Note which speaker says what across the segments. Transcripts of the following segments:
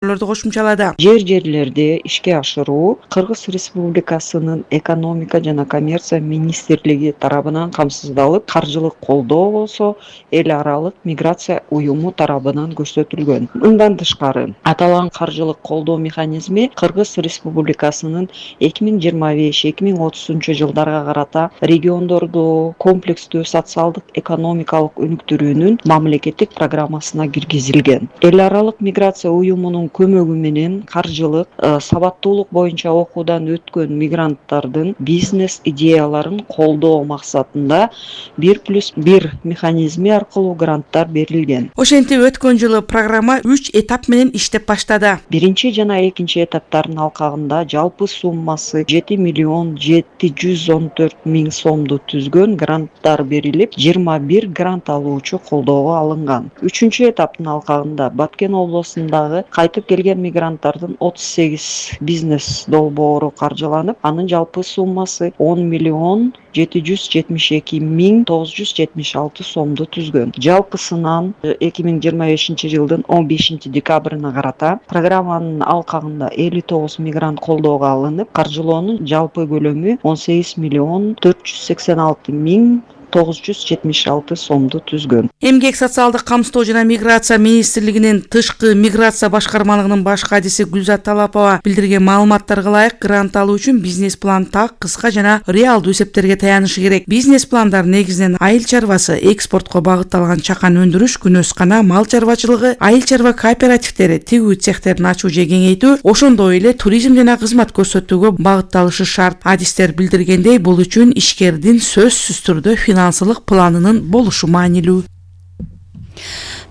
Speaker 1: кошумчалады.
Speaker 2: Жерлерде ишке ашыруу Кыргыз Республикасынын экономика жана коммерция министрлиги тарабынан камсыздалып, каржылык колдоо болсо эл аралык миграция уюму тарабынан көрсөтүлгөн. Мындан тышкары, аталган каржылык колдоо механизми Кыргыз Республикасынын 2025-2030 жылдарга карата региондорду комплекстүү социалдык экономикалык өнүктүрүүнүн мамлекеттик программасына киргизилген. Эл аралык миграция уюмунун көмөгү менен каржылык сабаттуулук боюнча окуудан өткөн мигранттардын бизнес идеяларын колдоо максатында 1+1 механизми аркылуу гранттар берилген.
Speaker 1: Ошентип өткөн жылы программа 3 этап менен иштеп баштады.
Speaker 2: Биринчи жана экинчи этаптардын алкагында жалпы суммасы 7.714.000 сомду түзгөн гранттар берилип, 21 грант алуучу колдоого алынган. Үчүнчү этаптын алкагында Баткен облусундагы кайтып келген мигранттардын 38 бизнес долбоору каржыланып, анын жалпы суммасы 10.772.976 сомду түзгөн. Жалпысынан 2025 жылдын 15 декабрына карата программанын алкагында 59 мигрант колдоого алынып, каржылоонун жалпы көлөмү 18.486.976 сомду түзгөн.
Speaker 1: Эмгек социалдык камсыздоо жана миграция министрлигинин тышкы миграция башкармалыгынын баш кадиси Гүлзат Талапова билдирген маалыматтарга ылайык, грант алуу үчүн бизнес план так, кыска жана реалдуу эсептерге таянышы керек. Бизнес пландар негизинен айыл чарбасы, экспортко багытталган чакан өндүрүш, күнөскана, мал чарбачылыгы, айыл чарба кооперативдери, тигүү цехтерин ачуу же кеңейтүү, ошондой эле туризм жана кызмат көрсөтүүгө багытталышы шарт. Адистер билдиргендей, бул үчүн ишкердин сөзсүз түрдө финансылык планынын болушу маанилүү.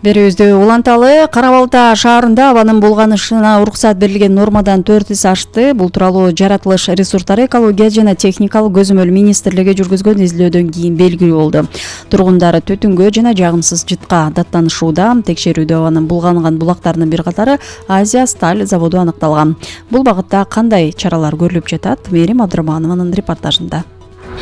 Speaker 3: Берүүбүздү уланталы. Кара Балта шаарында абанын булганышына уруксат берилген нормадан 4 эсе ашты. Бул тууралуу жаратылыш ресурстары экология жана техникалык көзөмөл министрлиги жүргүзгөн изилдөөдөн кийин белгилүү болду. Тургундар түтүнгө жана жагымсыз жытка даттанышууда. Текшерүүдө абанын булганган булактарынын бир катары Азия Сталь заводу аныкталган. Бул багытта кандай чаралар көрүлүп жатат? Мээрим Абдырманованын репортажында.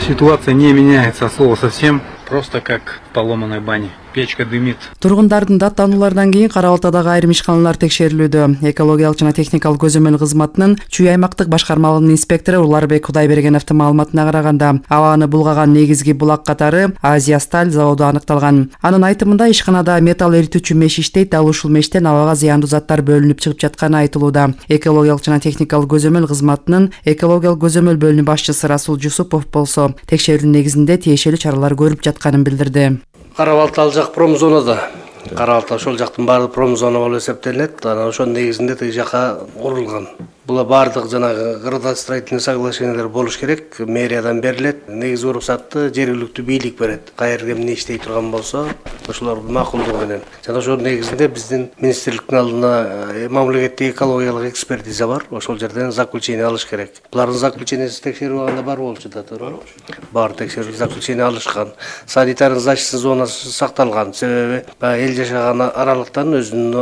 Speaker 4: Ситуация не меняется от слова совсем, просто как в поломанной бане. Печка дымит.
Speaker 5: Тургундардын даттануулардан кийин Кара Балтадагы айрым ишканалар текшерилүүдө. Экологиялык жана техникалык көзөмөл кызматынын Чүй аймактык башкармалыгынын инспектору Уларбек Кудайбергеновдун маалыматына караганда, абаны булгаган негизги булак катары Азия Сталь заводу аныкталган. Анын айтымында ишканада металл эритүүчү меш иштейт, ал ушул мештен абага зыяндуу заттар бөлүнүп чыгып жатканы айтылууда. Экологиялык жана техникалык көзөмөл кызматынын экологиялык көзөмөл бөлүнү башчысы Расул Жусупов болсо, текшерүүнүн негизинде тиешелүү чаралар көрүп жатканын билдирди.
Speaker 6: Кара Балта ал жак промзонада. Кара Балта ошол жактын баары промзона болуп эсептелет. Анан ошонун негизинде тиги жака курулган. Була баардык жанагы градостроительный соглашениялар болуш керек. Мэриядан берилет. Негизи уруксатты жергиликтүү бийлик берет. Каерде эмне иштей турган болсо, ошолордун макулдугу менен. Жана ошонун негизинде биздин министрликтин алдына мамлекеттик экологиялык экспертиза бар. Ошол жерден заключение алыш керек. Булардын заключениеси текшерүү абагында бар болчу да, туура. Бар текшерүү заключение алышкан. Санитарный защита зонасы сакталган. Себеби эл жашаган аралыктан өзүнүн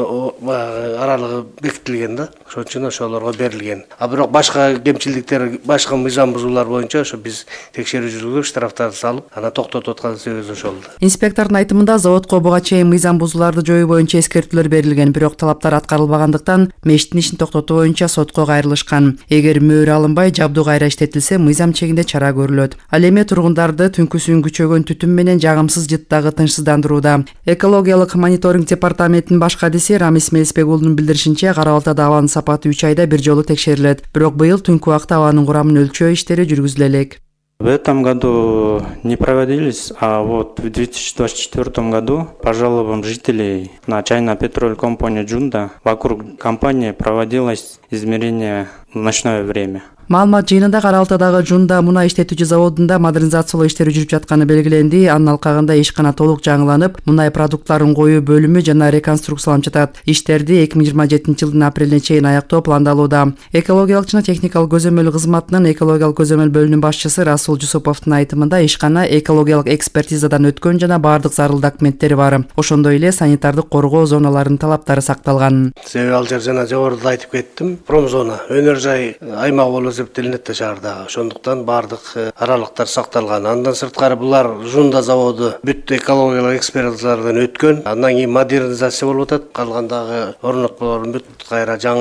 Speaker 6: аралыгы бекитилген да. Ошон үчүн ошолорго берилген. А бирок башка кемчиликтер, башка мыйзам бузуулар боюнча ошо биз текшерүү жүргүзүп, штрафтарды салып, ана токтотуп аткан себебибиз ошол.
Speaker 5: Инспектордун айтымында заводко буга чейин мыйзам бузууларды жоюу боюнча эскертүүлөр берилген, бирок талаптар аткарылбагандыктан мештин ишин токтотуу боюнча сотко кайрылышкан. Эгер мөөр алынбай, жабдуу кайра иштетилсе, мыйзам чегинде чара көрүлөт. Ал эми тургундарды түнкүсүн күчөгөн түтүн менен жагымсыз жыттагы тынчсыздандырууда. Экологиялык мониторинг департаментинин баш кадиси Рамис Мелисбек уулунун билдиришинче, Кара Балтада абанын сапаты 3 айда бир жолу текшерилет. Бирок быйыл түнкү убакта абанын курамын өлчөө иштери жүргүзүлө элек.
Speaker 7: В этом году не проводились, а вот в 2024 году по жалобам жителей на China Petrol Company Джунда вокруг компании проводилось измерение в ночное время.
Speaker 5: Маалымат жыйынында Кара Балтадагы Жунда мунай иштетүүчү заводунда модернизациялоо иштери жүрүп жатканы белгиленди. Анын алкагында ишкана толук жаңыланып, мунай продукттарын коюу бөлүмү жана реконструкцияланып жатат. Иштерди 2027 жылдын апрелине чейин аяктоо пландалууда. Экологиялык жана техникалык көзөмөл кызматынын экологиялык көзөмөл бөлүмүнүн башчысы Расул Жусуповдун айтымында, ишкана экологиялык экспертизадан өткөн жана баардык зарыл документтери бар. Ошондой эле санитардык коргоо зоналарынын талаптары сакталган.
Speaker 6: Себеби ал жер жана жогоруда айтып кеттим, промзона, өнөр жай аймак болуп эсептелинет да шаардагы. Ошондуктан баардык аралыктар сакталган. Андан сырткары булар Жунда заводу бүт экологиялык экспертизалардан өткөн. Андан кийин модернизация болуп атат. Калгандагы орнотмалордун бүт кайра жаңы